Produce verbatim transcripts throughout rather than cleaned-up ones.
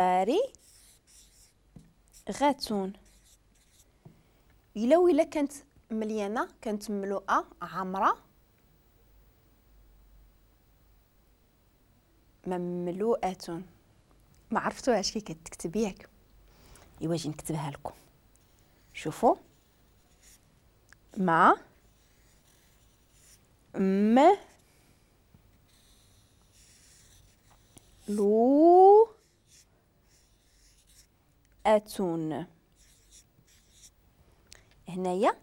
فارغة. إلا وإلا كانت مليانة، كانت مملوءة عامرة، مملوءة. ما عرفتوهاش كي كتكتب ياك؟ ايوا جي نكتبها لكم. شوفوا، ما م لو أتون. هنايا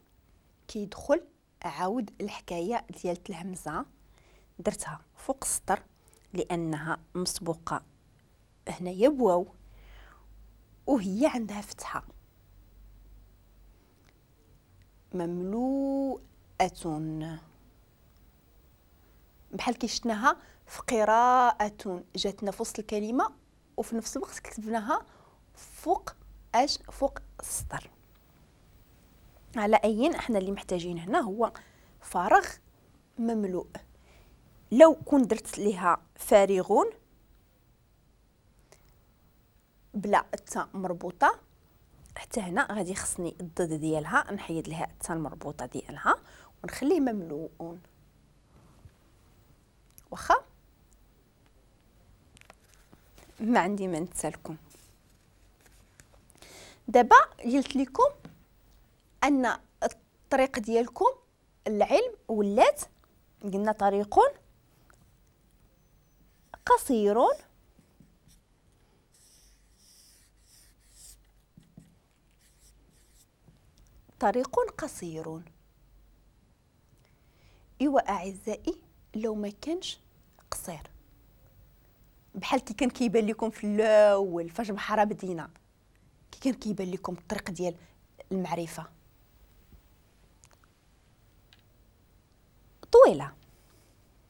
كيدخل عاود الحكاية ديال الهمزة، درتها فوق السطر لانها مسبوقة هنايا بواو وهي عندها فتحه. مملوءة بحال كي شفناها في قراءة، جاتنا في وسط الكلمة وفي نفس الوقت كتبناها فوق اش؟ فوق السطر. على اين احنا اللي محتاجين هنا هو فارغ مملوء. لو كون درت ليها فارغون بلا التاء مربوطة، حتى هنا غادي خصني الضد ديالها، نحيد لها التاء المربوطه ديالها ونخليه مملوء. واخا ما عندي ما نتسالكم. دابا قلت لكم ان الطريق ديالكم العلم ولات، قلنا طريق قصير طريق قصير. ايوا اعزائي لو ما كانش قصير بحال كي كان كيبان لكم في الاول فاش بحرا بدينا، كي كان كيبان لكم الطريق ديال المعرفة طويلة.